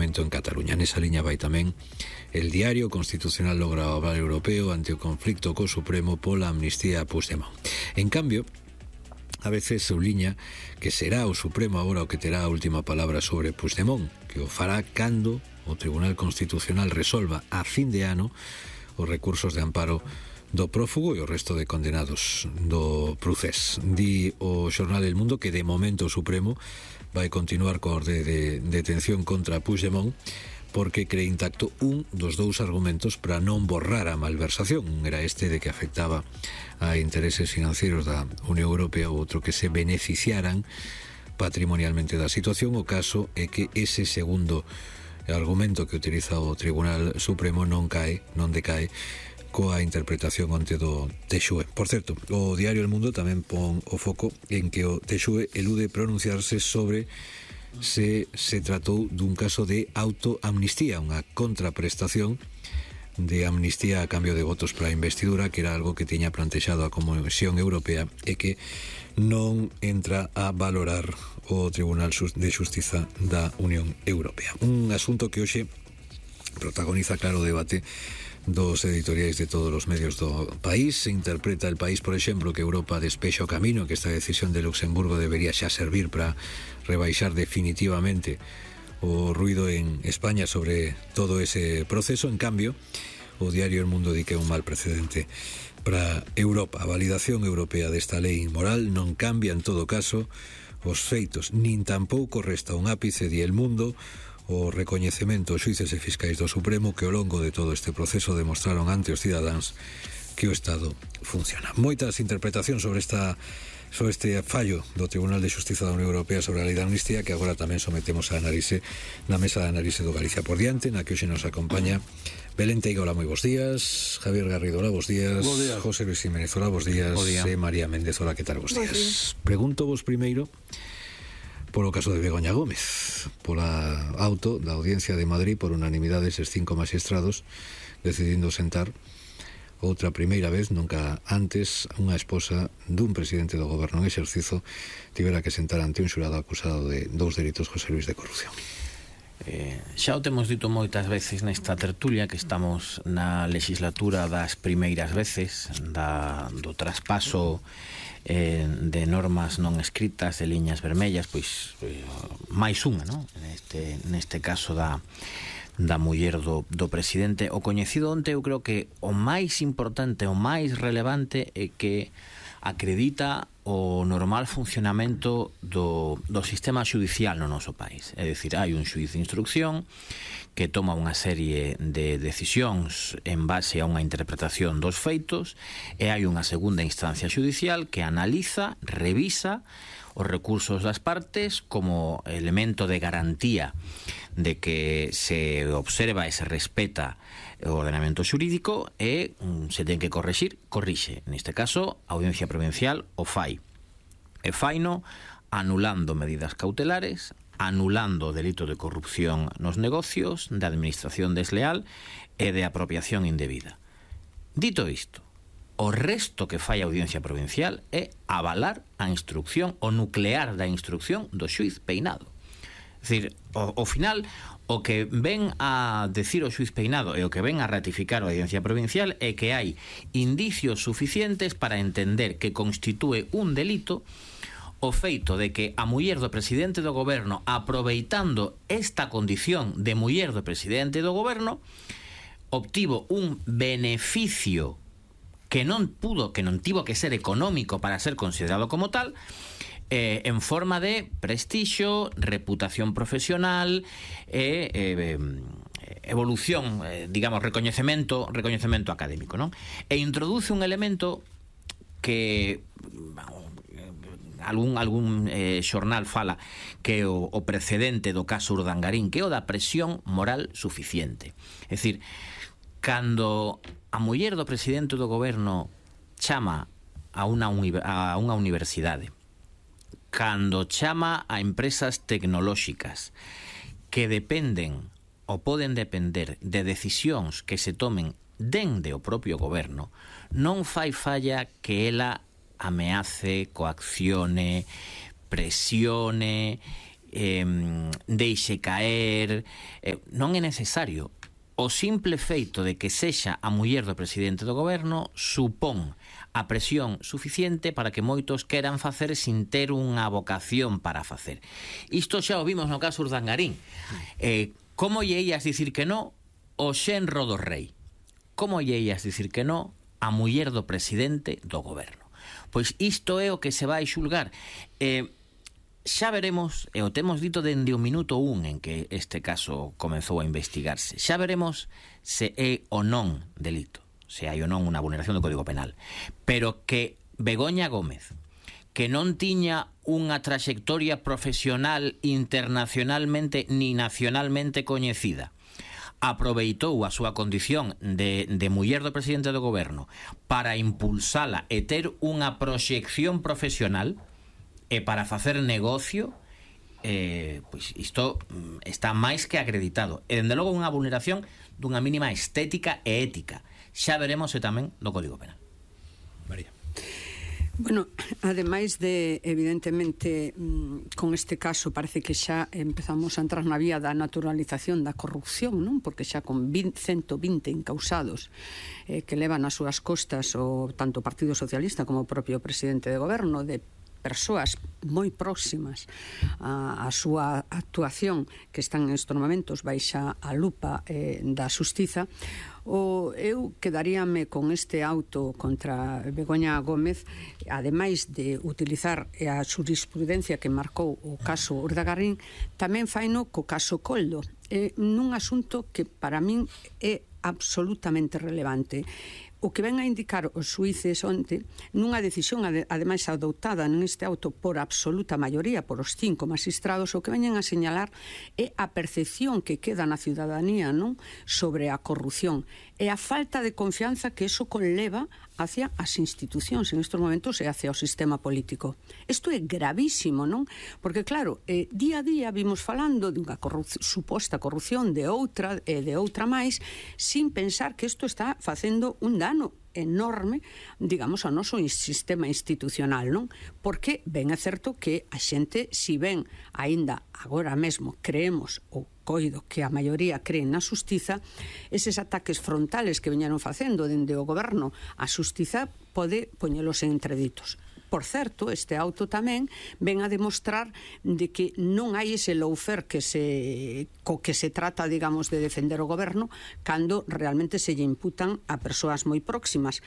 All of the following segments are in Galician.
Parlamento en Cataluña. Nesa liña vai tamén El Diario. Constitucional logra o aval europeo ante o conflicto co Supremo pola amnistía a Puigdemont. En cambio, a veces subliña que será o Supremo agora o que terá a última palabra sobre Puigdemont, que o fará cando o Tribunal Constitucional resolva a fin de ano os recursos de amparo do prófugo e o resto de condenados do procés. Di o xornal El Mundo que de momento o Supremo vai continuar co orde de detención contra Puigdemont porque cree intacto un dos dous argumentos para non borrar a malversación. Un era este de que afectaba a intereses financeiros da Unión Europea, ou outro que se beneficiaran patrimonialmente da situación. O caso é que ese segundo argumento que utiliza o Tribunal Supremo non decae coa interpretación onte do TXUE. Por certo, o diario El Mundo tamén pon o foco en que o TXUE elude pronunciarse sobre se tratou dun caso de autoamnistía, unha contraprestación de amnistía a cambio de votos para a investidura, que era algo que tiña plantexado a Comisión Europea e que non entra a valorar o Tribunal de Xustiza da Unión Europea. Un asunto que hoxe protagoniza claro o debate dos editoriais de todos os medios do país. Se interpreta El País, por exemplo, que Europa despexa o camino, que esta decisión de Luxemburgo debería xa servir para rebaixar definitivamente o ruido en España sobre todo ese proceso. En cambio, o diario El Mundo di que é un mal precedente para Europa. A validación europea desta lei inmoral non cambia en todo caso os feitos, nin tampouco resta un ápice, di El Mundo, o recoñecemento aos xuíces e fiscais do Supremo que ao longo de todo este proceso demostraron ante os cidadáns que o Estado funciona. Moitas interpretacións sobre este fallo do Tribunal de Xustiza da Unión Europea sobre a lei da amnistía, que agora tamén sometemos a análise na mesa de análise do Galicia por diante, na que hoxe nos acompaña Belén Teiga, hola, moi bons días. Javier Garrido, hola, bons días. José Luis Jiménez, hola, bons días. E María Méndez, hola, que tal, bons días. Pregunto vos primeiro polo caso de Begoña Gómez, pola auto da Audiencia de Madrid por unanimidade eses 5 magistrados decidindo sentar outra primeira vez, nunca antes, unha esposa dun presidente do goberno en exercizo tivera que sentar ante un xurado acusado de 2 delitos, José Luis, de corrupción. Xa o temos dito moitas veces nesta tertulia que estamos na legislatura das primeiras veces do traspaso de normas non escritas, de liñas vermellas, pois máis unha, non? Neste caso da muller do presidente. O coñecido onte, eu creo que o máis importante, o máis relevante é que acredita o normal funcionamento do sistema xudicial no noso país. É dicir, hai un xuíz de instrucción que toma unha serie de decisións en base a unha interpretación dos feitos e hai unha segunda instancia xudicial que analiza, revisa os recursos das partes como elemento de garantía de que se observa e se respeta o ordenamento xurídico e se ten que corrixir, corrixe. Neste caso, a Audiencia Provincial o fai. E faino anulando medidas cautelares, anulando o delito de corrupción nos negocios, de administración desleal e de apropiación indebida. Dito isto, o resto que fai a Audiencia Provincial é avalar a instrucción, o nuclear da instrucción do xuíz Peinado. É dicir, ao final, o que ven a decir o xuíz Peinado e o que ven a ratificar a Audiencia Provincial é que hai indicios suficientes para entender que constitúe un delito o feito de que a muller do presidente do goberno, aproveitando esta condición de muller do presidente do goberno, obtivo un beneficio que non tivo que ser económico para ser considerado como tal, en forma de prestixio, reputación profesional e evolución, digamos, recoñecemento académico, non? E introduce un elemento que algún xornal fala que o precedente do caso Urdangarín, que é o da presión moral suficiente. É dicir, cando a muller do presidente do goberno chama a unha universidade, cando chama a empresas tecnolóxicas que dependen ou poden depender de decisións que se tomen dende o propio goberno, non fai falla que ela ameace, coaccione, presione deixe caer, non é necesario. O simple feito de que sexa a muller do presidente do goberno supón a presión suficiente para que moitos queran facer sin ter unha vocación para facer. Isto xa o vimos no caso Urdangarín. Como lle ias dicir que no o xenro do rei? Como lle ias dicir que no a muller do presidente do goberno? Pois isto é o que se vai xulgar. Xa veremos, e o temos dito dende o minuto 1 en que este caso comezou a investigarse, xa veremos se é ou non delito, se hai ou non unha vulneración do Código Penal, pero que Begoña Gómez, que non tiña unha traxectoria profesional internacionalmente ni nacionalmente coñecida, aproveitou a súa condición de muller do presidente do goberno para impulsala e ter unha proxección profesional e para facer negocio, pois isto está máis que acreditado. E, dende logo, unha vulneración dunha mínima estética e ética. Xa veremos se tamén do Código Penal. María. Bueno, ademais de, evidentemente, con este caso parece que xa empezamos a entrar na vía da naturalización da corrupción, non? Porque xa con 120 encausados que levan as súas costas o tanto o Partido Socialista como o propio presidente de goberno, de persoas moi próximas a súa actuación, que están nestes momentos baixa a lupa da xustiza, eu quedaríame con este auto contra Begoña Gómez, ademais de utilizar a xurisprudencia que marcou o caso Urdangarín, tamén faino co caso Coldo, nun asunto que para min é absolutamente relevante. O que ven a indicar os xuíces onte, nunha decisión ademais adoptada neste auto por absoluta maioría, por os 5 magistrados, o que veñen a señalar é a percepción que queda na ciudadanía, non, sobre a corrupción e a falta de confianza que eso conleva hacia as institucións en estes momentos e hacia o sistema político. Isto é gravísimo, non? Porque claro, día a día vimos falando dunha suposta corrupción de outra e de outra máis, sin pensar que isto está facendo un dano enorme, digamos, ao noso sistema institucional, non? Porque ben é certo que a xente, si ben aínda agora mesmo creemos ou coido que a maioría creen na xustiza, eses ataques frontales que veñeron facendo dende o goberno a xustiza pode poñelos en entreditos. Por certo, este auto tamén ven a demostrar de que non hai ese lawfare co que se trata, digamos, de defender o goberno cando realmente se lle imputan a persoas moi próximas,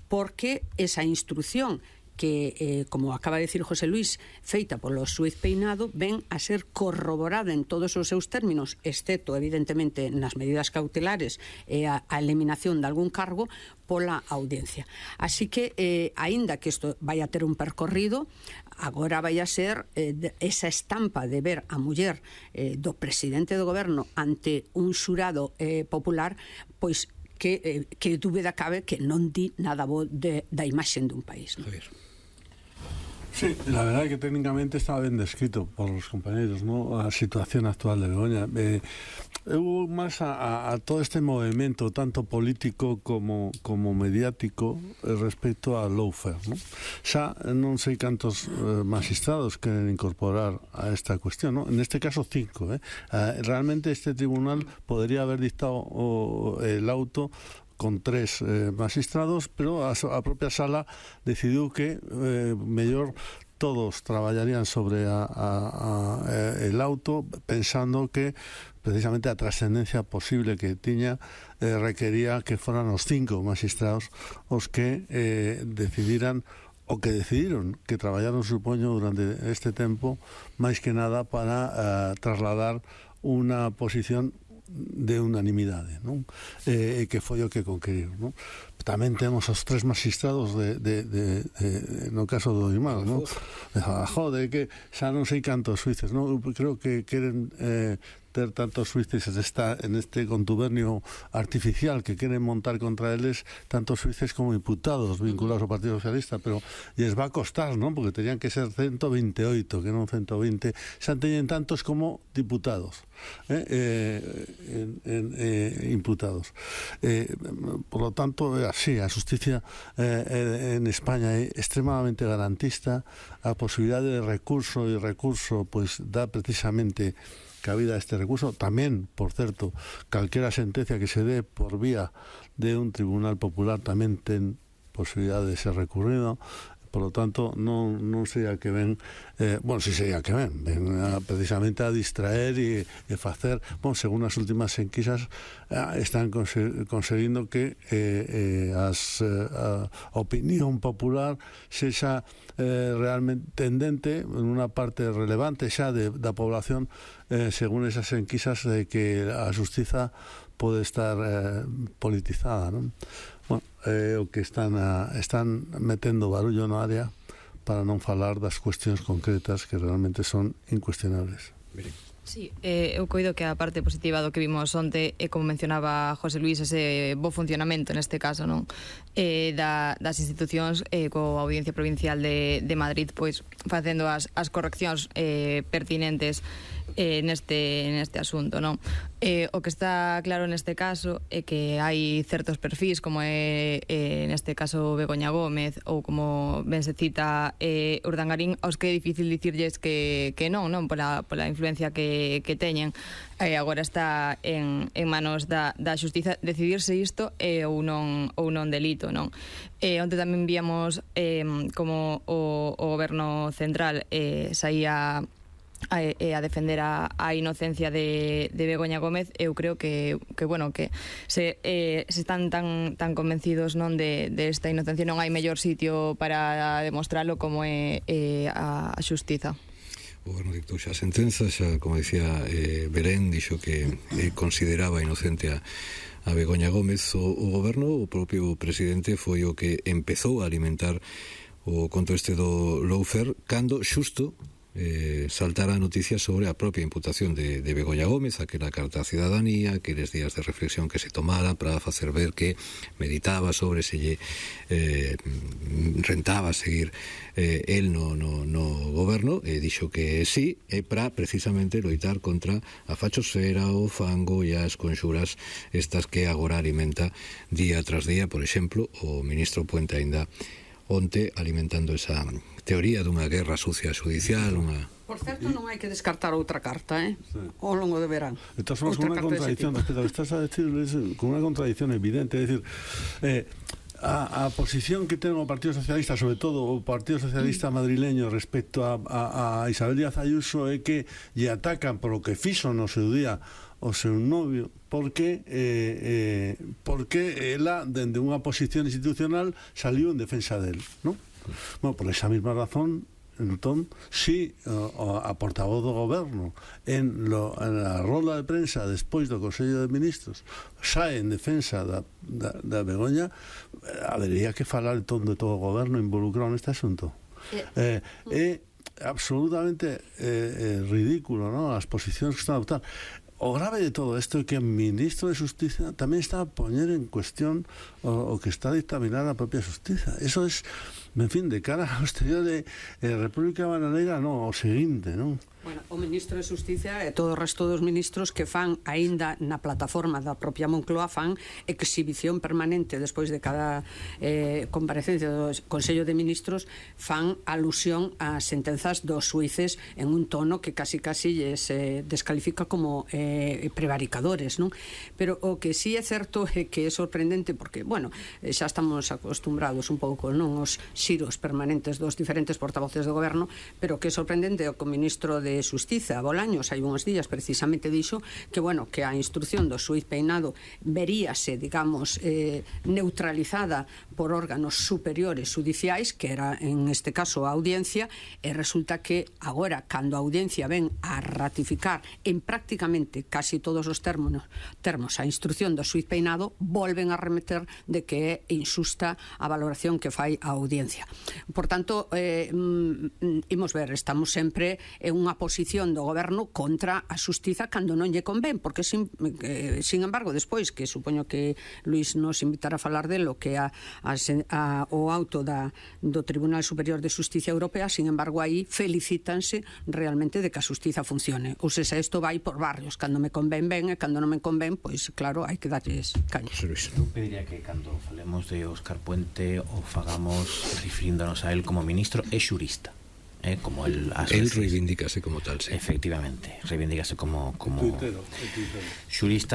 porque esa instrucción que, como acaba de decir José Luis, feita polo xuíz Peinado, ven a ser corroborada en todos os seus términos, excepto, evidentemente, nas medidas cautelares e a eliminación de algún cargo, pola audiencia. Así que, aínda que isto vai a ter un percorrido, agora vai a ser esa estampa de ver a muller do presidente do goberno ante un xurado popular, pois que dúbida cabe que non di nada bo da imaxe dun país, non? Sí, la verdad es que técnicamente estaba bien descrito por los compañeros, ¿no? La situación actual de Begoña. Hubo más a todo este movimiento, tanto político como mediático, respecto al lawfare, ¿no? Xa non sei cantos magistrados queren incorporar a esta cuestión, ¿no? En este caso 5, realmente este tribunal podría haber dictado el auto con 3 magistrados, pero a propia sala decidiu que mellor todos traballarían sobre el auto, pensando que precisamente a trascendencia posible que tiña requería que foran os 5 magistrados os que decidiran o que decidiron, que traballaron, supoño, durante este tempo, máis que nada para trasladar unha posición de unanimidade, non? Que foi o que conqueriron, non? Tamén temos os 3 magistrados no caso do Imán, non? Jode, que xa non sei cantos xuíces, non? Creo que queren ter tantos xuíces en este contubernio artificial que queren montar contra eles, tantos xuíces como imputados vinculados ao Partido Socialista, pero lles va a costar, non? Porque terían que ser 128, que non 120, xa teñen tantos como diputados, imputados. Por lo tanto, sí, a xusticia en España é extremadamente garantista. A posibilidade de recurso e recurso pois dá precisamente cabida a este recurso. Tamén, por certo, calquera sentencia que se dé por vía de un tribunal popular tamén ten posibilidade de ser recurrido. Por lo tanto, non sei a que ven, si sei a que ven precisamente a distraer e facer, según as últimas enquisas, están conseguindo que a opinión popular sexa realmente tendente en unha parte relevante xa da población, según esas enquisas, de que a xustiza pode estar politizada, non? Bueno, o que están metendo barullo no área para non falar das cuestións concretas que realmente son incuestionables. Sí, eu coido que a parte positiva do que vimos onte é, como mencionaba José Luis, ese bo funcionamento neste caso, non? Das institucións coa Audiencia Provincial de Madrid, pois facendo as correccións pertinentes neste asunto, non? O que está claro neste caso é que hai certos perfis, como é neste caso Begoña Gómez, ou como ben se cita Urdangarín, aos que é difícil dicirlles que non pola influencia que teñen. Agora está en manos da xustiza decidirse isto ou non delito, non? Onte tamén víamos como o goberno central saía a defender a inocencia de Begoña Gómez. Eu creo que se están tan convencidos, non, de esta inocencia, non hai mellor sitio para demostralo como é a xustiza. O goberno dictou xa a sentenza, xa, como dicía Belén, dixo que consideraba inocente a Begoña Gómez. O goberno, o propio presidente, foi o que empezou a alimentar o conto este do lawfare cando xusto saltara a noticia sobre a propia imputación de Begoña Gómez, aquela carta a cidadanía, aqueles días de reflexión que se tomara para facer ver que meditaba sobre se lle rentaba seguir el no goberno, e dixo que sí, é para precisamente loitar contra a fachosfera, o fango e as conxuras estas que agora alimenta día tras día. Por exemplo, o ministro Puente aínda onte alimentando esa teoría dunha guerra sucia judicial, Por certo, non hai que descartar outra carta, ao longo de verán. Estás con unha contradicción respecto a que estás a decir, con unha contradicción evidente, é dicir, a posición que ten o Partido Socialista, sobre todo o Partido Socialista madrileño, respecto a Isabel Díaz Ayuso, é que lle atacan por o que fixo no seu día o seu novio, porque ela, dende unha posición institucional, saliu en defensa del, non? Bueno, por esa mesma razón, entón, si a portavoz do goberno en a roda de prensa despois do Consello de Ministros sae en defensa da Begoña, habería que falar entón de todo o goberno involucrado neste asunto. É absolutamente ridículo, non? As posicións que están a adoptar. O grave de todo isto é que o ministro de Justicia tamén está a poñer en cuestión o que está a dictaminar a propia Justicia. Eso es, en fin, de cara ao exterior de República Bananeira, non, o seguinte, non? Bueno, o ministro de Justicia e todo o resto dos ministros que fan, aínda na plataforma da propia Moncloa, fan exhibición permanente despois de cada comparecencia do Consello de Ministros, fan alusión ás sentenzas dos xuíces en un tono que casi lles descalifica como prevaricadores, non? Pero o que sí é certo é que é sorprendente, porque, bueno, xa estamos acostumbrados un pouco, non, os xiros permanentes dos diferentes portavoces do goberno, pero o que é sorprendente é o que o ministro de Xustiza, Bolaños, hai uns días precisamente dixo que, bueno, que a instrucción do xuíz Peinado veríase, digamos, neutralizada por órganos superiores judiciais, que era en este caso a Audiencia, e resulta que agora, cando a Audiencia ven a ratificar en prácticamente casi todos os termos a instrucción do xuíz Peinado, volven a remeter de que é injusta a valoración que fai a Audiencia. Por tanto, imos ver, estamos sempre en unha posición do goberno contra a xustiza cando non lle convén, porque sin embargo, despois, que supoño que Luís nos invitará a falar delo, que o auto do Tribunal Superior de Xusticia Europea, sin embargo, aí felicítanse realmente de que a xustiza funcione. Ou seja, isto vai por barrios, cando me convén ben e cando non me convén, pois claro, hai que darlles caña. Eu pediría que cando falemos de Óscar Puente o fagamos refiríndonos a él como ministro e xurista. Como él reivindícase como tal, sí. Efectivamente, reivindícase como xurista